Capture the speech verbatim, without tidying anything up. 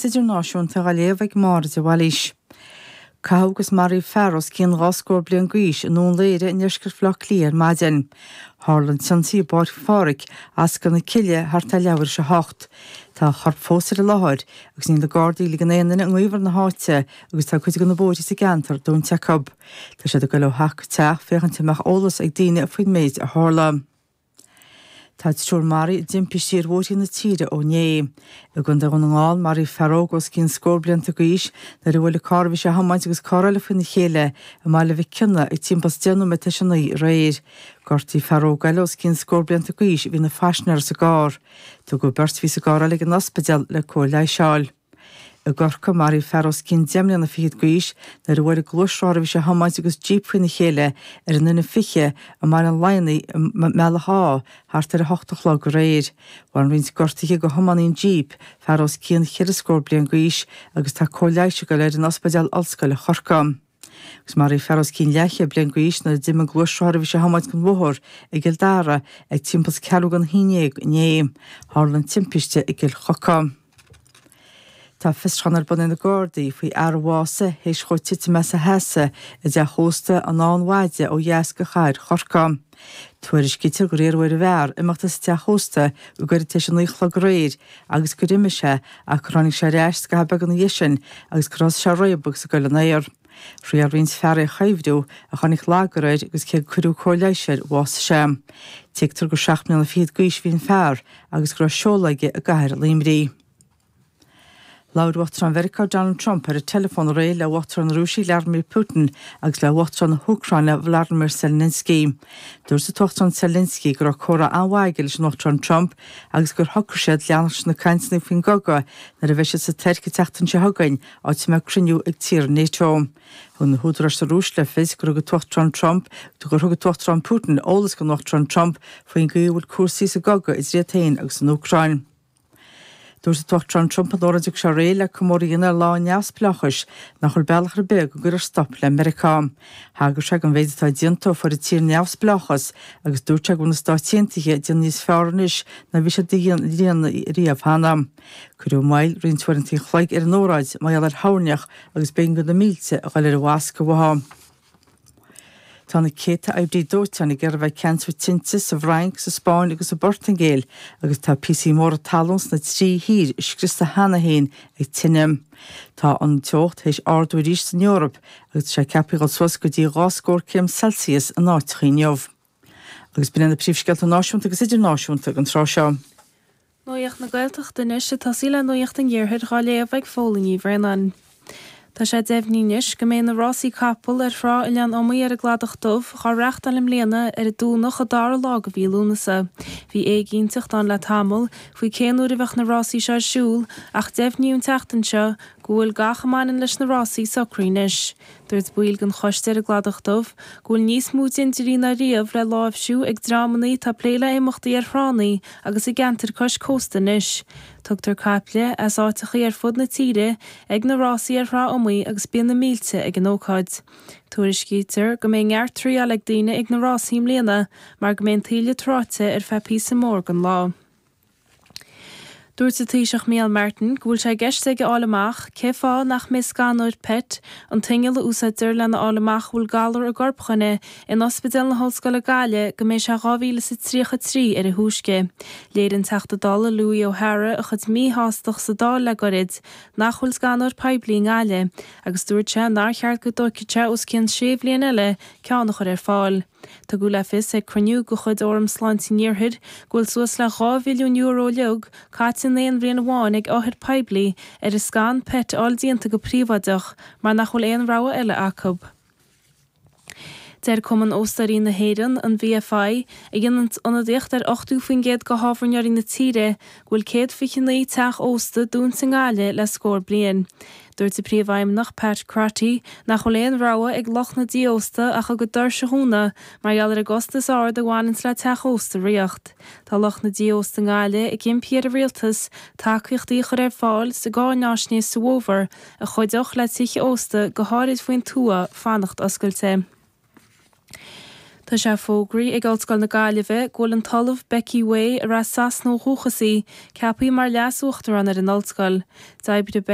Idirnáisiúnta á léamh ag Máire de Bhailís. Caitheadh agus maraíodh fear os cionn dhá scór bliain d'aois i nDún Laoghaire i ndeisceart Bhaile Átha Cliath ar maidin. Tharla an t-ionsaí i bPáirc Phádraig, Ascaill na Cille, thart ar leathuair tar éis a hocht. Tá a chorp fós ar an láthair agus níl na Gardaí ag ligean aon duine i ngaobhar na háite agus tá cuid de na bóithre sa gceantar dúnta acu. Tá siad ag dul ó theach go teach féachaint an mbeadh eolas ag daoine faoin méid a tharla. Tá triúr maraithe i dtimpistí ar bhóithre na tíre ó inné. I gContae Dhún na nGall, maraíodh fear óg os cionn scór blianta d'aois nuair a bhuail carr a bhí sé a thiomáint agus carr eile faoina chéile i mBaile Mhic Cionnaith ag timpeall is deich nóiméad tar éis a naoi aréir. Gortaíodh fear óg eile os cionn scór blianta d'aois a bhí ina phaisinéir sa gcarr. Tugadh beirt a bhí sa gcarr eile ag an ospidéal le cóir leighis a fháil. I gCorcaigh, maraíodh fear os cionn deich mbliana fichead d'aois nuair a bhuail gluaisrothar a bhí sé a thiomáint agus jíp faoina chéile ar an N fiche i mBaile an Laigheanaigh i mBealach Átha thart ar a hocht a chlog aréir. Bhain roinnt gortuithe do thiománaí an jíp, fear os cionn cheithre scór bliain d'aois, agus tá cóir leighis ag dul air in Ospidéal Ollscoile Chorcaí. Agus maraíodh fear os cionn leathchéad bliain d'aois nuair a d'imigh gluaisrothar a bhí sé a thiomáint den bhóthar i gCill Dara ag timpeall is ceathrú don haon déag inné. Tharla an timpiste i gCill Choca. Tá fiosrúchán ar bun ag na Gardaí faoi fhear a bhásaigh théis dhó titim as a sheasamh i dteach ósta an Fhánn Mhaide ó dheas de chathair Chorcaí. Tuairiscítear gur iarradh ar an bhfear imeacht as an teach ósta go gairid tar éis a naoi a chlog aréir agus gur imigh sé ach gur tháinig sé ar ais scaitheamh beag ina dhiaidh sin agus gur thosaigh sé ag réabadh agus ag goil in aer. Thriail roinnt fear é a chuibhriú ach tháinig lagar air agus cé gur cuireadh cóir leighis air bhásaigh sé. Tuigtear gur seacht mbliana fichead d'aois a bhí an fear agus go raibh seoladh aige i gcathair Luimnigh. Labhair Uachtarán Mheiriceá Donald Trump ar an teileafón aréir le Uachtarán na Rúise Vladimir Putin agus le Uachtarán na hÚcráine Volodymyr Zelensky. Dúirt an tUachtarán Zelensky go raibh comhrá an-mhaith aige leis an Uachtarán Trump agus gur shocraigh siad leanacht leis na cainteanna faoin gcogadh nuair a bheidh siad sa Tuirc an tseachtain seo chugainn, áit a mbeidh cruinniú ag tíortha NATO. Thug na húdaráis sa Rúis le fios gur thug an tUachtarán Trump gur thug an tUachtarán Putin eolas don Uachtarán Trump faoin gcaoi a bhfuil cúrsaí sa gcogadh idir iad féin agus an Úcráin. Dúirt an tUachtarán Trump in óráid a thug sé aréir le comóradh a dhéanamh ar Lá an Neamhspleáchais nach bhfuil bealach ar bith go gcuirfear stop le Meiriceá. Thagair sé don mhéid atá déanta ó fuair an tír neamhspleáchas agus dúirt sé go bhfuil na Stáit Aontaithe ag déanamh níos fearr anois ná bhí siad a dhéanamh riamh cheana. Cuireadh moill roinnt uaireanta an chloig ar an óráid mar gheall ar thoirneach agus b'éigean do na mílte a dhul ar an bhfoscadh uathu. Tá na céadta oibrí dóiteáin ag iarraidh a bheith ag ceansú tinte sa bhFrainc, sa Spáinn agus sa bPortaingéil agus tá píosaí móra talún sna trí thír scriosta cheana féin ag tine. Tá an teocht théis ardú arís san Eoraip agus tá sé ceaptha dul suas go dtí dhá scór céim Celsius in áiteacha inniu. Agus b'in iad na príomhscéalta náisiúnta agus idirnáisiúnta don tráth seo. Nuacht na Gaeltachta anois ag tosaí le Nuacht an Iarthair á léamh ag Fódhla Ní Bhraonáin. Tá sé deimhnithe anois go mbeidh na rásaí capall ar thrá Oileán Iomaí ar an gCladach Dubh á reáchtáil i mbliana ar an Domhnach an dara lá de mhí Lúnasa. Bhí éiginnteacht ann le tamall faoi cén uair a bheadh na rásaí seo ar siúl ach deimhníodh an tseachtain seo go bhfuil gach a mbaineann leis na rásaí socraithe anois. Dúirt baill den choiste ar an gCladach Dubh go bhfuil níos mó dindirí ná riamh le láimhsiú ag dreamanna atá ag plé le imeachtaí ar thránna agus i gceantair cois cósta anois. Tugtar caiple as áiteachaí ar fud na tíre ag na rásaí ar Thrá Iomaí agus bíonn na mílte ag an ócáid. Tuairiscítear go mbeidh neart triáil ag daoine ag na rásaí i mbliana mar go mbeidh an taoille tráite ar feadh píosa mór den lá. Dúirt an Taoiseach Micheál Martin go bhfuil sé i gceist aige a fháil amach cé fáth nach mbeidh scanóir PET, an t-inneall a úsáidtear lena fháil amach an bhfuil galar i gcorp dhuine, in Ospidéal na hOllscoile Gaillimh go mbeidh sé dhá mhíle is a tríocha trí ar a thúisce. Léirigh an Teachta Dála Louis O'Hara a chuid míshástacht sa Dáil le goirid nach bhfuil scanóir poiblí i nGaillimh agus dúirt sé nár cheart go dtógfadh sé os cionn sé bhliain eile ceann a chur ar fáil. Tugadh le fios ag cruinniú de chuid Fhóram Sláinte an Iarthair go bhfuil suas le dhá mhilliún euro uilig caite in aon bhliain amháin ag othair poiblí ar an scan PET a fháil déanta go príobháideach mar nach bhfuil aon rogha eile acu. Deir Cumann Óstóirí na hÉireann, an VFI, a dhéanann ionadaíocht ar ochtó faoin gcéad de thábhairneoirí na tíre, go bhfuil céad fiche naoi teach ósta dúnta i nGaillimh le scór bliain. Dúirt a Príomhfheidhmeannach Pat Crotty nach bhfuil aon rogha ag lucht na dtithe ósta ach a gcuid doirse a dhúnadh mar gheall ar an gcostas ard a bhaineanns le teach ósta a ríocht. Tá lucht na dtithe ósta i nGaillimh ag impí ar an rialtas tacaíochtaí a chur ar fáil sa gcáináisnéis sa bhfómhar a chuideodh le tithe ósta, go háirid faoin tuath, fanacht oscailte. Tá sé fógraithe ag Ollscoil na Gaillimhe go bhfuil an tOllamh Becky Way, ar as Sasana ó dhúchas í, ceaptha mar leas-uachtarán ar an ollscoil. D'oibrigh